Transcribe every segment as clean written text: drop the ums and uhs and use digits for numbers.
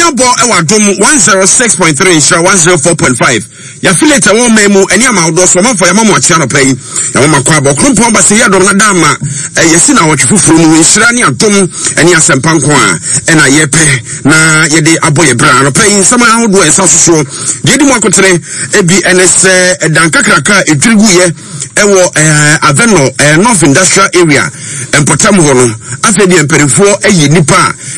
Abɔ wɔ Adom 106.3 Nhyira 104.5. Yɛafiliate ɛwɔ ɔman mu ɛne ama ahodoɔ so ɔmanfoɔ yɛama mo akyea anɔpa yi. Yɛama mo akɔ abɔ krompɔn ba sɛ yɛ adɔm na da ama yɛsi na awɔtwe foforɔ mu nhyira ne adom ɛne asɛmpa nko a ɛna yɛpɛ na yɛde abɔ yɛ bra anɔpa yi nsɛm ahodoɔ ɛsa sosoɔ deɛ ɛdi mu akotene ebi ɛne sɛ ɛdan kakraka a ɛdwiri guiɛ ɛwɔ ɛɛ Avenor ɛɛ North Industrial Area mpɔtam hɔ no afei deɛ mpanimfoɔ ayi nnipa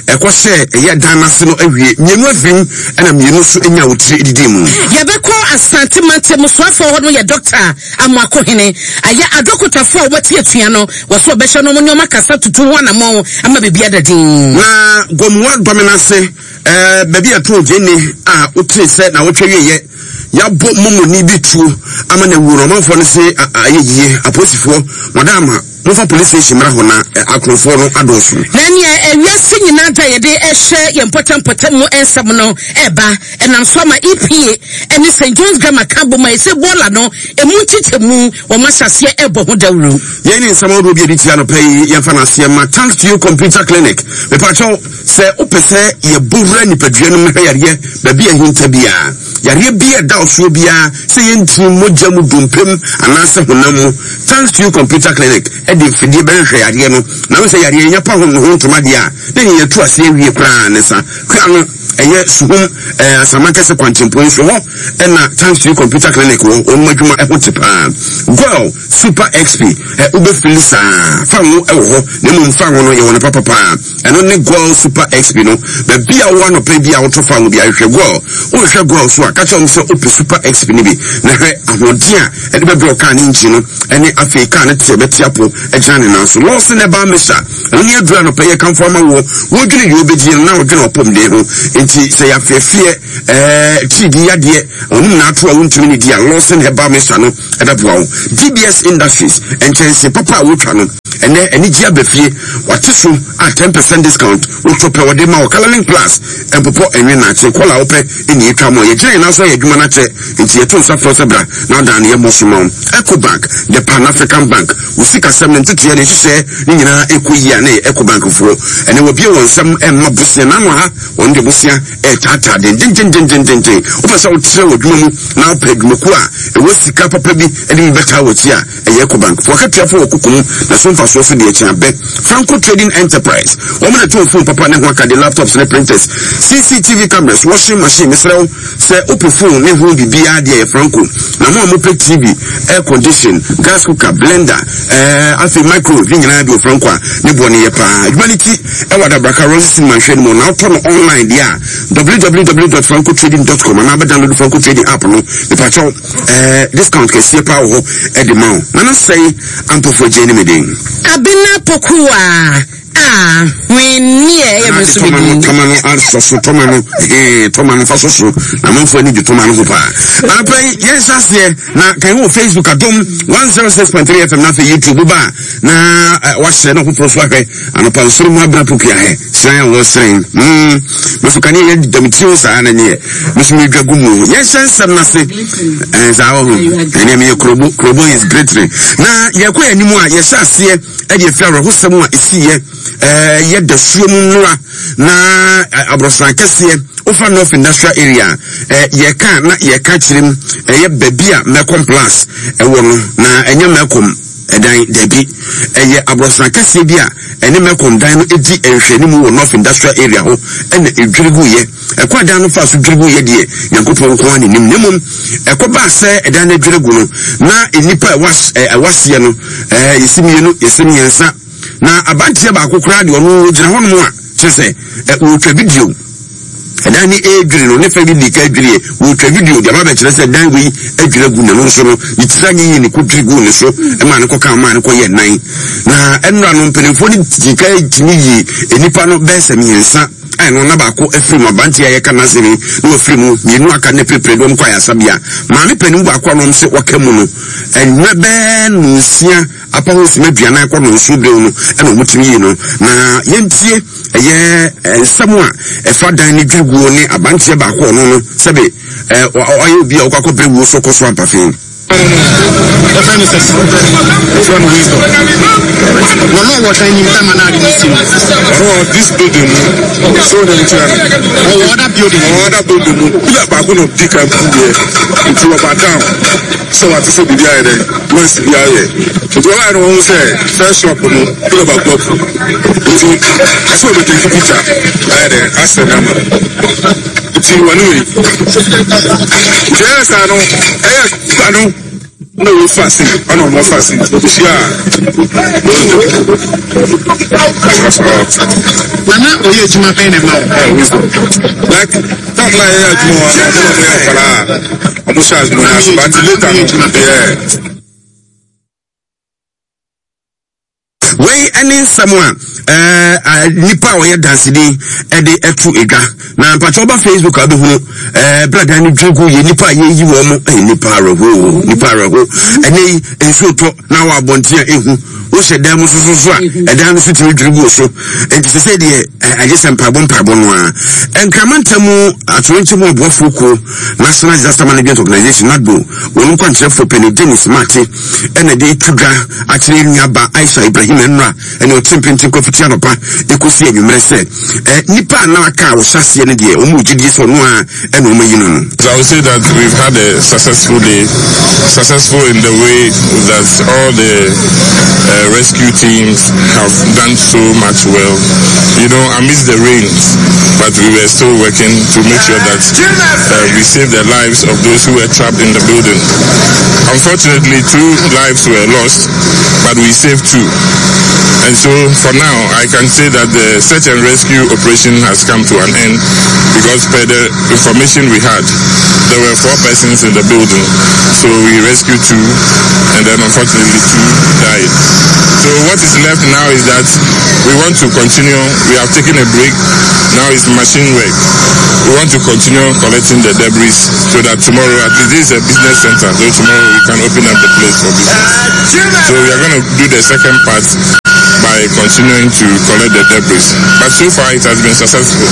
a ɛkɔhyɛ ɛyɛ dan n'ase no awie mmienu afirim ɛna mmienu nso anya wotiri didi mu. Yɛbɛkɔ Asante mantam soafoɔ hɔ no yɛ Dɔkta Amoakohene ayɛ adɔkotafoɔ a wɔte atua no wɔ so ɔbɛhyɛ no wɔn nneɛma kasa tutu ho anamɔn ama biribi ada din. Na Gomoa Dɔmena ase ɛɛ baabi a ɛtɔn gyeene a wotee sɛ na wɔtwa wieɛ Yɛabɔ momoni bi tuo ama no awuo no, ɔmanfoɔ no se ayɛ yie. Apolisifoɔ, moada ama momfa police station mmra hɔ na akorɔmfoɔ no adɔɔso. Na nea wiase nyinaa da yɛde rehyɛ yɛn mpɔtam-mpɔtam mu nsɛm no reba, ɛnam so ama EPA ne St. John's Grammar ka abom a ɛsɛ bɔɔla no emu nkyekyɛmu wɔn ahyɛ aseɛ rebɔ ho dawuro. Yei ne nsɛm ahodoɔ bi a ɛdi tia anɔpa yi, yɛmfa no aseɛ ma Thanks to You Computer Clinic. Mepakyɛw, Sɛ wopɛ sɛ yɛbɔ wura nipadua no mu hwɛ yareɛ baabi a ɛhinta biara, yareɛ bi a ɛda wo soɔ biara, sɛ ɛyɛ ntini, mogya mu, dompe mu, anaasɛ honam mu, Thanks to You Computer Clinic de mfidie bɛhwehwɛ yareɛ no. Na wohu sɛ yareɛ yɛnya pa ho ho ntoma deɛ a, na ɛneɛ yɛatu aseɛ awie koraa ne sa. Kua no, ɛyɛ Suhum, eh, Asamankɛse kwantempɔn yi so hɔ ɛna Thanks to You Computer Clinic wɔ. Wɔn adwuma ɛho te paa. Goil Super XP, eh, wobɛfili saa. Fa ngo ɛwɔ hɔ, na mmom fa ngo no yɛwɔ no papa paa. Ɛno ne Goil Super XP no. Baabi a wowɔ anɔpa bi a wotɔ fa ngo bi a, hwehwɛ Goil. Wohwehwɛ Goil so a, ka kyerɛ wɔn sɛ wopɛ Super XP no bi, na hwɛ ahoɔden a ɛde bɛbrɛ wo kaa no engine no ne afei kaa no te a ɛbɛte apo agyina ne nan so. Lawson Herbal Mixture, ɛno ne aduru anɔpa yi ɛkamfo ama woɔ. Wodwene deɛ wobɛdie no na wodwene w'apɔmuden ho. Enti sɛ yɛafeɛfeɛ, ɛɛ, tiridii yadeɛ, ɔnom na ato a wontumi ne di a, Lawson Herbal Mixture no ɛbɛboa wo. DBS Industries, nkyɛnse papa a wotwa no, Ɛnɛ anigye aba fie, wate so a 10% discount, wotɔ pɛ wɔde ma wo. Colourlink Plus, ɛmpopɔ ɛnwe naakye, kɔla a wopɛ ɛna yɛtwa ma wo. Yɛgyina yɛn nan so ayɛ adwuma no akyɛ, nti yɛto nsa frɛ wo sɛ bra na adan no yɛmmɔ so ma wo. Ecobank, the Pan African Bank, wo sikasɛm ne ntotoeɛ ne nhyehyɛɛ ne nyinaa ɛkɔ yie a na ɛyɛ Ecobank foɔ. Ɛnɛ wɔabue wɔn nsam ɛmma bosea, n'ano ha wɔn de bosea ɛretaataa dendendendendenden. Wopɛ sɛ wotrɛ w'adwuma mu na wopɛ adwumakuo a ɛwɔ sika papa bi de bi bɛtaa w'akyi a, Ɛyɛ Ecobank fo akatuafo wɔ koko mu na so mfasoɔ so deɛ kyɛn abɛ. Franco Trading Enterprise, wɔn na ɛtɔn phone papa ne ho akadeɛ, laptops ne printers, CCTV cameras, washing machine. Mesrɛ wo, sɛ wopɛ phone ne ho biribiara deɛ ɛyɛ Franco. Na mo a mopɛ TV, air condition, gas cooker, blender, ɛɛ afei microwave ne nyinaa bi wɔ Franco a ne boɔ no yɛ paa. Adwuma no ti ɛwɔ Adabraka Royal Cinema nhwɛ no mu. Na wotɔ no online deɛ a www.francotrading.com anaa bɛdownload Franco Trading app no. Mepakyɛw. Eh, discount kɛseɛ paa wɔ hɔ ɛde ma wo. Nana sɛe ampɔfoɔ gye ne me den. Abena Pokuwa a hwenneɛ ɛyɛ me nso me din. Tɔma no asɔ so tɔma no hee tɔma no fa so so na amanfoɔ ani gye tɔma no ho paa. Anɔpa yi yɛn hyɛ aseɛ na kan wɔ Facebook Adom 106.3 FM na afei YouTube ba na eh, wahyɛ na ɔfoforɔ so ahwɛ anɔpa nsoro mu abena Pokuwa hɛ sran a wɔsrɛn mm meso kanea yɛ da me tiri ho saa na neɛ meso medwa gu mu yɛnhyɛ nsɛm no ase ɛn saa wɔ ho ɛneɛ meyɛ kurobo kurobo is greatly na yɛkɔ yɛn anim a yɛhyɛ aseɛ ɛde afiri awerɛhosɛm a ɛsiiɛ ɛɛ yɛ dasuo mu nnora na aborɔsan kɛseɛ wofa north industrial area ɛɛ yɛka na yɛka kyerɛ mu ɛyɛ baabi a mɛkɔm plus ɛwɔ no na ɛnyɛ mɛkɔm Ɛdan? Dabi. Ɛyɛ aborɔsan kɛseɛ bi a ɛne Melcom dan no di nhwɛanimu wɔ North Industrial Area hɔ na ɛdwiri guiɛ. Ɛkwan a dan no faa so dwiri guiɛ deɛ, Nyankopɔn nko ara na nim. Na mmom, ɛkɔbaa sɛ ɛdan no adwiri agu no, na nnipa a ɛwɔ aseɛ no, yɛsi mmienu, yɛsi mmiɛnsa. Na abanteɛ baako koraa deɛ, ɔno ɔgyina hɔnom a, kyerɛ sɛ, wɔretwa video. Ɛdan no redwiri no, ne fɛ bi dii kan dwiriiɛ. Wɔretwa video de aba abɛkyerɛ sɛ dan wei adwiri agu na ɛno nso no, ne tiri anyɛ yie na ɛkɔdwiri guu ne so maa no kɔkaa maa no kɔyɛɛ nan. Na ɛnora no, mpanimfoɔ no dii kan tumi yii nnipa no bɛyɛ sɛ mmiɛnsa a ɛno na baako afiri mu, aberanteɛ a yɛka n'asɛm yi na wafiri mu, mmienu aka ne pirepire de wɔn kɔ ayaresabea. Maame panin baako a na wɔn sɛ waka mu no, anwummerɛ bɛyɛ nnɔnsia apa ho simma aduanan kɔ nnɔnson berɛ mu no ɛna wɔtumi yii no. Na yɛntie Ɛyɛ nsɛm a ɛfa dan no dwiriguo ne abanteɛ baako a ɔno no sɛbe ɔyɛ obi a ɔkɔ akɔbrɛ wuo so kɔ so ampafe. Yɛfrɛ no sɛ yɛfrɛ no wisdom. Na ɔno ɔwɔ dan nim tama na ade no si no. Ɔno wɔ this building mu so na nkyerɛ no. Ɔwɔ other building. Ɔwɔ other building mu. Pillar baako na ɔdi kan bu deɛ nti ɔba down sɛ wate sɛ biribi ayɛ dɛ noise bi ayɛ nti ɔbaeɛ no wɔn sɛ first shop no pillar baako afu nti ɛsɛ ɔbɛtɛki picture ayɛ dɛ asɛ nama. Nti wɔne wei. Nti ɛyɛ saa no, ɛyɛ ba no na wei fa se, ɛna ɔmo fa se. Ohyia a, Na na ɔyɛ adwuma bɛn na ɛma wo? Ɛɛ wisdom. Like time na yɛyɛ adwuma wɔ no, ɔmo na ɔmo yɛ nkwadaa a ɔmo hyɛ adwuma no ase, but later no, yeah. Wei ne nsɛm a nipa a ɔyɛ danseni de ɛto edwa na mpakyɛ ɔba Facebook a bɛhunu bradan no dwa gu yɛ nipa a yɛyi wɔn mo ɛyɛ nipa awerɛho nipa awerɛho ɛnɛ yi nsuo tɔ na wɔ abɔnten a ehu wohyɛ dan mu soso so a ɛdan no so tumi dwiri gu so nti sɛ sɛ deɛ agye sɛ mpaebɔ mpaebɔ no a nkrama ntam atorenkyɛ mu aboafoɔ kuo National Disaster Management Organization NADMO wɔn nkwankyerɛfoɔ panin Dennis Mate ɛna de to dwa akyerɛ yɛn nuaba Aisha Ibrahim nnora ɛne ɔte mpenten kɔfiti anɔpa ɛkɔsi anwummerɛ sɛ eh, nipa a na aka a wɔhyɛ aseɛ no deɛ wɔn wɔ gyidie sɛ ɔno a ɛna wɔn ayi no no. I would say that we've had a successful day, successful in the way that all the uh, rescue teams have done so much well. You know, amidst the rains, but we were still working to make sure that uh, we save the lives of those who were trapped in the building. Unfortunately, two lives were lost, but we saved two. And so for now, I can say that the search and rescue operation has come to an end because per the information we had, there were four persons in the building. So we rescued two, and then unfortunately two died. So what is left now is that we want to continue. We have taken a break. Now it's machine work. We want to continue collecting the debris so that tomorrow, at least this is a business center, so tomorrow we can open up the place for business. So we are going to do the second part by continuing to collect the debris. But so far it has been successful.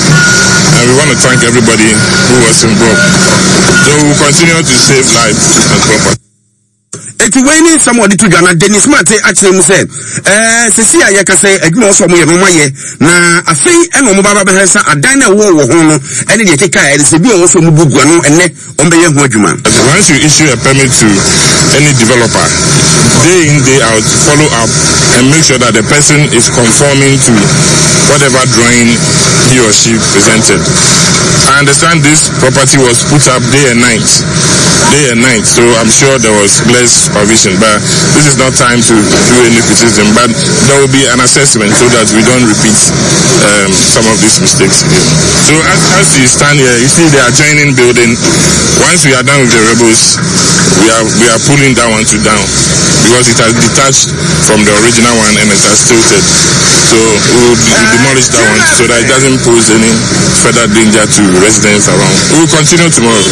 And we want to thank everybody who was involved. So we will continue to save lives and property. Eti wei ne nsɛm a ɔde to dwa na Dennis Mate akyerɛ mu sɛ ɛɛ sisi a yɛka sɛ adwuma ɔsɔ ɔmo yɛ no ɔmo ayɛ na afei ɛna ɔmo ba bɛhwɛ sɛ adan na ɛwɔ wɔ ho no ɛne deɛ ɛkeka ɛde sɛ bi a ɔwɔ so ɔmo bu gu ano ɛnɛ ɔmo bɛyɛ ho adwuma. Once you issue a permit to any developer, day in day out, follow up and make sure that the person is conforming to whatever drawing he or she presented. I understand this property was put up day and night, day and night, so I'm sure there was less supervision. But this is not time to do any criticism, but there will be an assessment so that we don't repeat um, some of these mistakes again. So as, as you stand here, you see the adjoining building. Once we are done with the rebels, we are we are pulling that one to down because it has detached from the original one and it has tilted. So we will demolish that one so that it doesn't pose any further danger to residents around. We will continue tomorrow.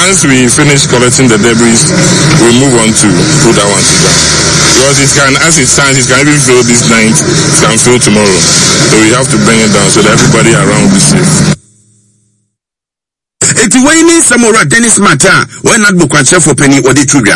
Once we finish collecting the debris, we move on to put that one to down. Because it can, as it stands, it can even fail this night, it can fail tomorrow. So we have to bring it down so that everybody around will be safe. Enti wei ne nsɛm Owura Dennis Smart a ɔyɛ NADMO kwankyerɛfoɔ panin ɔde to dwa.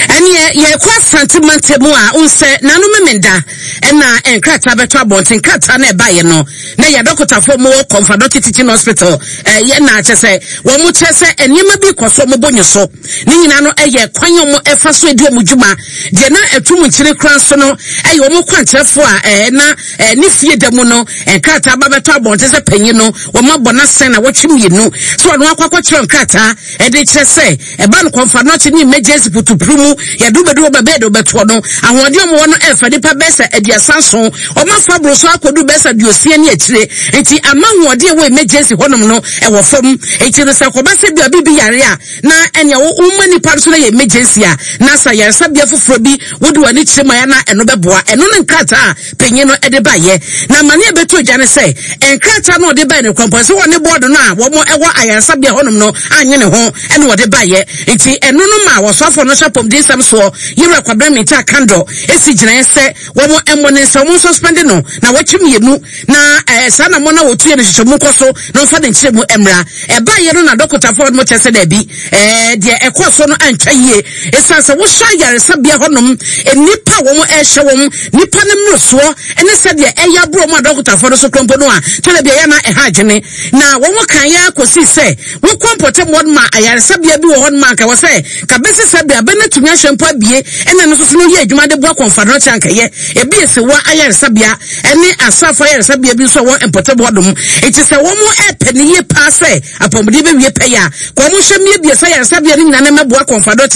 Ɛneɛ yɛkɔ Asante mantam mu a, wohu sɛ Nano Memenda ɛna nkrataa bɛtɔ abɔnten. Nkrataa no ɛbaeɛ no, na ɛyɛ adɔkotafoɔ mo wɔ Kɔmfadɔkye Teaching Hospital ɛyɛ na kyɛ sɛ wɔn kyerɛ sɛ nneɛma bi kɔ so wɔn bɔ nyo so. Ne nyinaa no ɛyɛ kwan a wɔn ɛfa so edi wɔn dwuma. Deɛ na ɛto mu nkyene koraa nso no ɛyɛ wɔn kwankyerɛfoɔ a ɛɛ na ɛɛ ne fie da mu no nkrataa ba bɛtɔ abɔnten sɛ panyin no wɔn abɔ n'asɛn na wɔtwe mmienu so ɔno akɔ akɔkyerɛ nkrataa ɛde kyerɛ sɛ ɛba no kɔnfa nɔkye ne emergency putupuru mu yɛde wobɛdu hɔ bɛbɛɛ de wobɛtoɔ no ahoɔden wɔn wɔ no ɛfa nipa bɛyɛ sɛ 37 wɔn afa boro so akɔdu bɛyɛ sɛ 60 ne akyire nti ama ahoɔden ɛwɔ emergency hɔnom no ɛwɔ fam nti no sɛ kɔba sɛ bi a biribi yare a na ɛnea woma nipa no so no yɛ emergency a na sɛ yaresabea foforɔ bi wode w'ani kyerɛ mu a na ɛno bɛboa ɛno ne nkrataa a panyin no de baeɛ. Na amane a ɛbɛtɔ dwa ne sɛ, nkrataa no a ɔde baeɛ no kura mpo, ɛsɛ wɔne bɔɔdo no a wɔn wɔ ayaresabea hɔnom no annye ne ho na wɔde baeɛ. Nti ɛno no maa wɔsoafoɔ no hyɛ apɔmuden nsɛm soɔ, Yewura Kwabena Mintah Kandor si gyinaeɛ sɛ wɔn mmɔ ne nsa, wɔn nsuspɛnde no nawɔtwe mmienu na ɛɛ saa anamɔ no a wɔtuiɛ no nhwehwɛmu nkɔ so na wɔmfa ne nkyerɛmu mmra. Ɛbaeɛ no na dɔkotafoɔ no kyerɛ sɛ daabi, ɛɛ deɛ ɛkɔɔ so no antwa yie. Ɛsiane sɛ wohwɛ ayaresabea hɔnom, nnipa a wɔn ɛrehyɛ wɔn, nnipa no mmorosoɔ ne sɛdeɛ ɛyɛ aboro wɔn a dɔkotafoɔ no so korɔ mpo no a, tɛnɛ bi ɛyɛ na ɛha adwene. Na wɔn kan yɛ akɔsi sɛ wokɔ mpɔtam hɔ ma ayaresabea bi wɔ hɔ nom a anka wɔ sɛ ka bɛsi sɛ bere abɛn no atumi ahwɛ mpo abie ɛna no nso so no yɛ adwuma de boa kɔnfadɔnkyɛ ankɛyɛ ebi esewa ayaresabea ɛne asraafo ayaresabea bi nso a wɔ mpɔtam hɔ nom. Enti sɛ wɔn ɛpɛ ne yie paa sɛ apɔmuden bɛwie pɛyɛ a, ka wɔn nhwɛ mmiebie sɛ ayaresabea no nyinaa na ɛmɛboa kɔnfadɔnkyɛ.